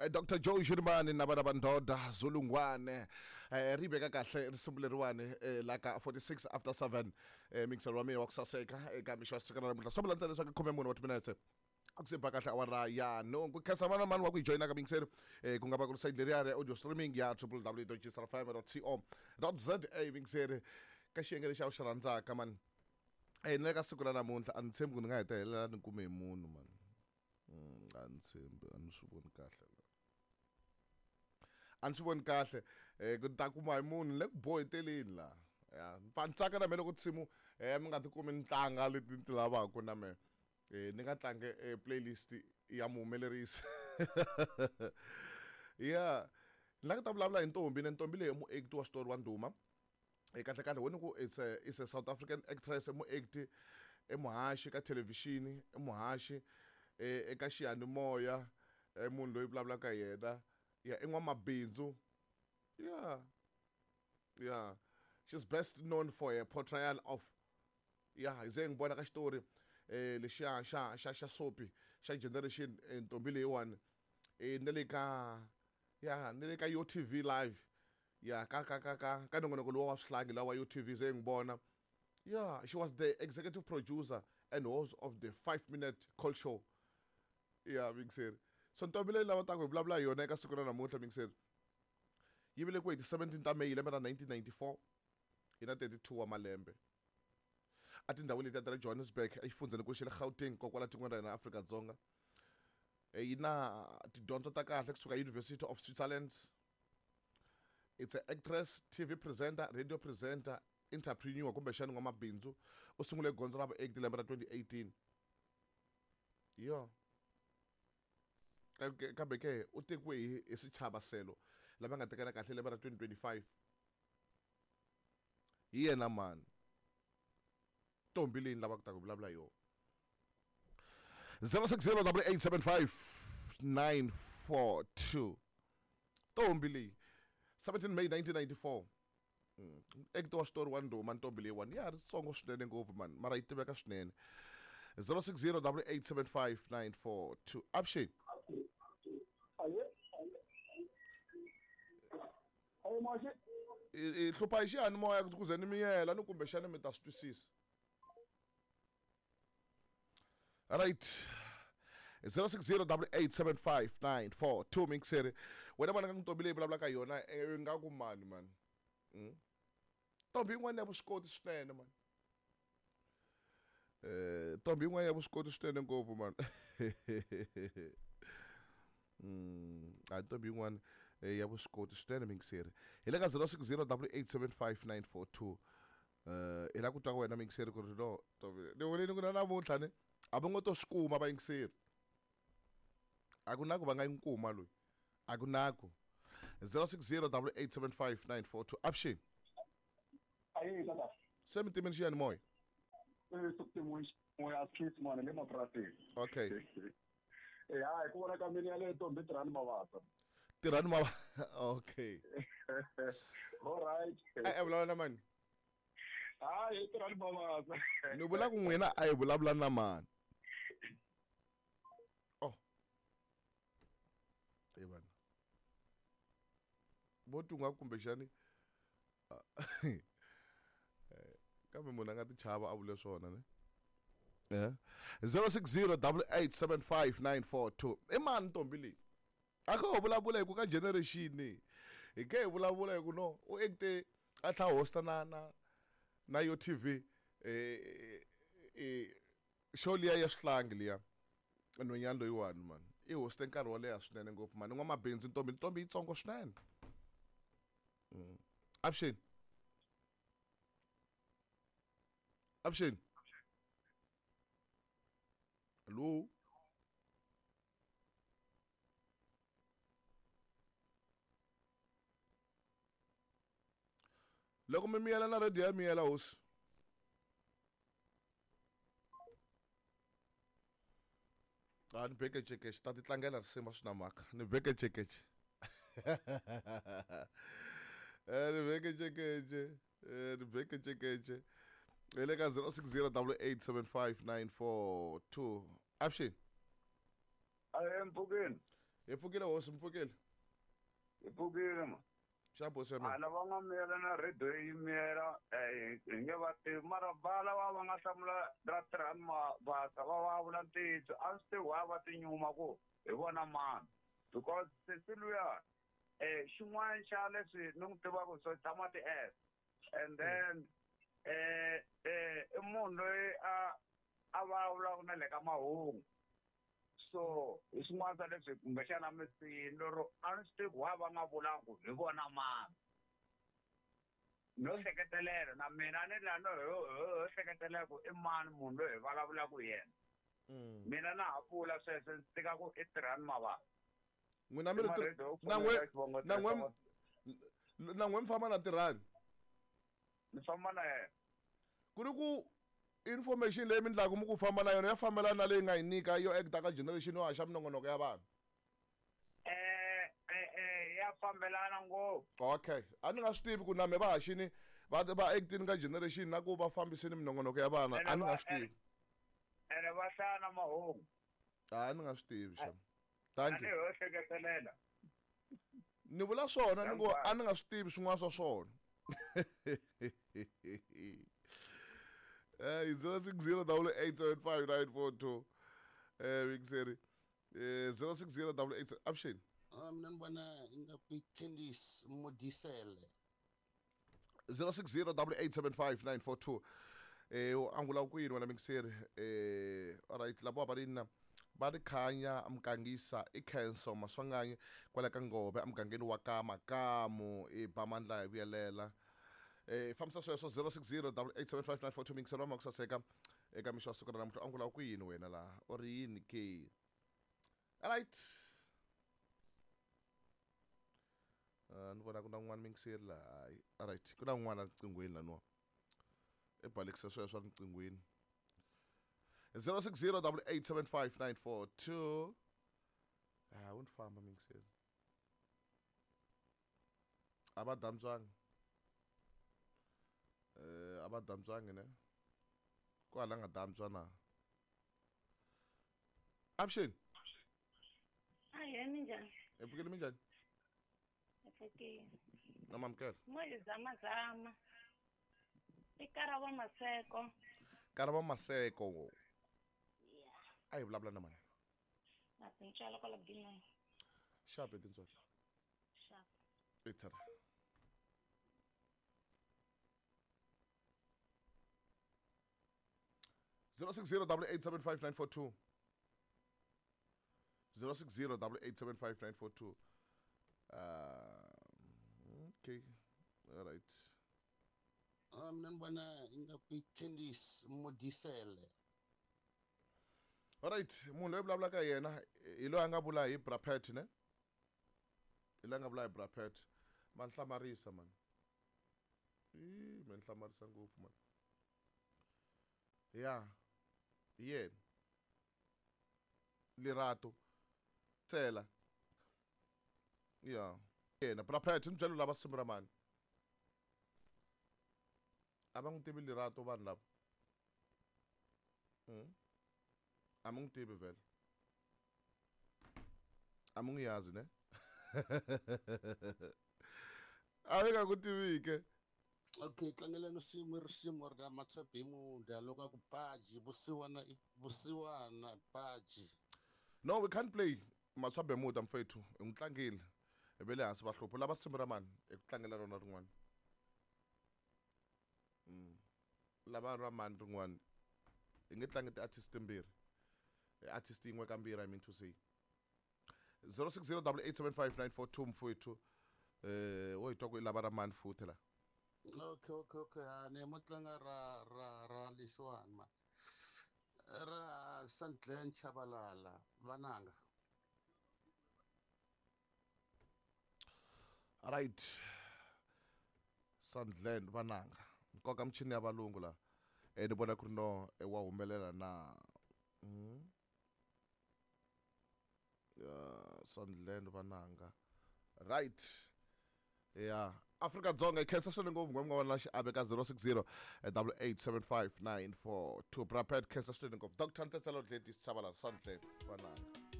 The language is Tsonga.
Dr Joe Shirimani na vana va Ndoda Zulungwane ri veka kahle risimu leriwani la ka 46 after 7 mixer wa mina wa ku saseka eka mixo wa siku ra namuntlha swi vula ntsena leswaku khome mune wa timinetse a ku se ba kahle awara ya nhungu. Khensa mani na mani wa ku hi joyina ka mixer ku nga va ku ri site leriya ra audio streaming ya www.gsrfm.co.za mixer ka xiyenge lexi a wu xi rhandzaka mani. Na le ka siku ra namuntlha a ni tshembi ku ni nga hetelela ni kume hi munhu mani. A ni tshembi, a ni swi voni kahle la. A ni swi voni kahle ku ni ta kuma hi munhu le ku boheteleni la. Ya, ni pfa ni tsaka na me loko tinsimu mi nga ti kumi ni tlanga leti ni ti lavaka na me. Ni nga tlange playlist ya muhumelerisi. Ya, ni la ku ta vulavula hi ntombi, ne ntombi leyi i muacti wa xitori wa ndhuma. Kahle kahle wena ku it's a South African actress, i muacti, i muhaxi ka thelevhixini, i muhaxi eka xiyanimoya, i munhu loyi vulavulaka hi yena. Ya, i n'wamabindzu. Ya. Ya. She's best known for her portrayal of ya hi ze hi n'wi vona ka xitori lexiya xa xa xa soapy xa Generation ntombi leyiwani na le ka ya na le ka Yo TV live ya ka ka ka ka ka nongonoko lowa wa swihlangi lawa Yo TV ze hi n'wi vona. Yeah, she was the executive producer and host of the 5 Minute Call Show. Yeah, mixer. So ntombi leyi lava taku hi vulavula hi yona eka siku ra namuntlha mixer. Yi velekiwe hi ti 17 ta May lembe ra 1994. Yi na 32 wa malembe. A tindhawini letiya ta le Johannesburg exifundzheni xa le Gauteng kokwala tikweni ra hina Afrika-Dzonga. Yi na tidyondzo ta kahle kusuka University of Switzerland. It's an actress, TV presenter, radio presenter, entrepreneur kumbexana n'wamabindzu. U sungule gondzo ra vuacti lembe ra 2018. Yo. Kambe ke u tekiwe hi swichava selo lava nga tekana kahle lembe ra 2025. Hi yena mani ntombi leyi ni lavaka ku ta ku vulavula hi yona. 0608875942 ntombi leyi 17 May 1994. Actor wa xitori wa ndhuma ntombi leyiwani ya ha ri tsongo swinene ngopfu mani, mara yi tiveka swinene. 0608875942 avuxeni. I hlupha hi xiyanimoya ku ze ni miyela ni kumbexani mi ta swi twisisa. Right. 0608875942 mixer. Wena vona ka ntombi leyi vulavulaka hi yona nga ku mani mani. Ntombi yin'wana ya vuswikoti swinene mani. Ntombi yin'wana ya vuswikoti swinene ngopfu mani. A ntombi yin'wana ya vuswikoti swinene mixer. Hi le ka 0608875942. Hi la ku twa ka wena mixer ku ri no ntombi ni vulini ku na namuntlha ni a va ngo to swi kuma vayingiseri. A ku na ku va nga yi kuma loyi. A ku na ku. 0608875942 avuxeni. Ayi tata. Se mi timeni xiyanimoya? Se ku timiwe xiyanimoya a swi mona le mapurasini. Okay. Hayi ku vona ka mina yaleyo ntombi Tirhani Mavasa. Tirhani Mavasa. Okay. All right. A vulavula na mani? Hayi Tirhani Mavasa. Ni vula ku n'wina a hi vulavula na mani? Oh. E vana. Vo tunga kumbexani kambe munhu a nga ti chava a vule swona ne. 0608875942 i mani ntombi leyi? A kha ho vulavula hi ku ka generation hi ke hi vulavula hi ku no u acte a tlha hosta na na na Yo TV show liya ya swihlangi liya nhwenyana loyiwani mani i hoste nkarhi wo leha swinene ngopfu mani n'wamabindzu ntombi ntombi yitsongo swinene. Avuxeni. Avuxeni. Hello. Loko mi miyela na radio ya miyela hosi. A ni bekecekece ta ti tlangela risimu swi na mhaka ni bekecekece. Ni bekecekece, ni bekecekece. Hi le ka 0608875942. Avuxeni. Ahe mpfukeni. Hi pfukile hosi, mi pfukile. Hi pfukile ma. Xa bosi ya mina. A lava nga miyela na radio yi miyela hi nge va tivi mara va lava va nga hlamula ra tirhani mabasa va va vula ntiyiso a swi tivi why va tinyuma ku hi vona mani because sesi luya xin'wana xa leswi ni n'wi tivaka so tshama ti S and then i munhu loyi a vulavulaka na le ka mahungu so hi swin'wana swa leswi kumbexana mi siyini lero a ni swi tivi why va nga vulanga ku hi vona mani no hleketelela na mina ni la no ho hleketelela ku i mani munhu loyi hi vulavulaka hi yena. Mina na ha vula sweswo ndzi tika ku i tirhani mavabyi. N'wina mi ri na n'we mi famba na tirhani? Ni famba na yena. Ku ri ku information leyi mi ndlaku mi ku famba na yona ya fambelana na leyi nga yi nyika yo acta ka generation yo haxa minongonoko ya vanhu? Ya fambelana ngopfu. Okay. A ni nga swi tivi ku na me va haxini va actini ka generation na ku va fambiseni minongonoko ya vana, a ni nga swi tivi. Ene va hlaya na mahungu. A ni nga swi tivi xa. Thank you. A ni ho hleketelela. Ni vula swona ni ngo a ni nga swi tivi swin'wana swa swona. 060 875 942. Mixeri. 060 88 option. Mina ni vona ingaku Candice Modisele. 060 875 942. Angula ku yini wena mixeri? All right, labo va ri na va ri khanya mukangisa i Khenso Maswanganyi kwala ka Ngove emugangeni wa ka Makamu i ba mandla hi vuyelela. Fambisa sweswo 060 875 942 mixeri wa makusaseka eka mixo wa siku ra namuntlha. Angula ku yini wena laha u ri yini ke? All right. Ni vona ku na un'wana mixeri laha. All right, ku na un'wana riqinghweni laniwa. I balekisa sweswo riqinghweni. 060 875 942. Wu ni famba mixeri. A va dantswangi. A va dantswangi ne? Kwala nga dantswa na. Option. Ahee, minjhani? Hi pfukile minjhani? Hi pfukile. Na mamukela. Mo hi zamazama. I Karabo Maseko. Karabo Maseko. Yeah. A hi vulavula na mani? Na tintswalo kwala Binoni. Xape tintswalo. Xape. Ithara. 060 875 942. 060 875 942. Okay. All right. Mina ni vona ingaku Candice Modisele. All right, munhu loyi vulavulaka yena hi loyi a nga vula hi Brapet ne? Hi loyi a nga vula hi Brapet. Ma nhlamarisa man. Ma nhlamarisa ngopfu man. Ya. Hi yena. Lerato. Tsela. Ya. Yena Brapet ni byela lava simu ra mani. A va n'wi tivi Lerato vanhu lava. A mi n'wi tivi vhele. A mi n'wi yazi ne? A mi nga ku tivi ke. Okay, tlangeleni risimu ra Matshabimuda loko a ku baji vusiwana vusiwana baji. No, we can't play Matshabimuda mfethu. Hi n'wi tlangile. Hi ve le hansi va hlupha lava risimu ra mani hi ku tlangela rona rin'wana. Lava ra mani rin'wana. Hi nge tlangi ti-artist timbirhi. Artist yin'we kambirhi, I mean to say. 060 875 942 mfowethu. Wo hi twa ku i lava ra mani futhi la. Okay. Ni mo tlanga ra lexiwani ma. Ra Sandlen Chabalala vananga. Right. Sandlen vananga. Nkoka michini ya valungu la. Ni vona ku ri no wa humelela na. Sandlen vananga. Right. Yeah. Afrika Dzonga i khensa swinene ngopfu n'we mi nga va na xiave ka 060 875 942. Brapet khensa swinene ngopfu. Dr. Ntsetselo Gladys Tshabalala Sandlen vananga.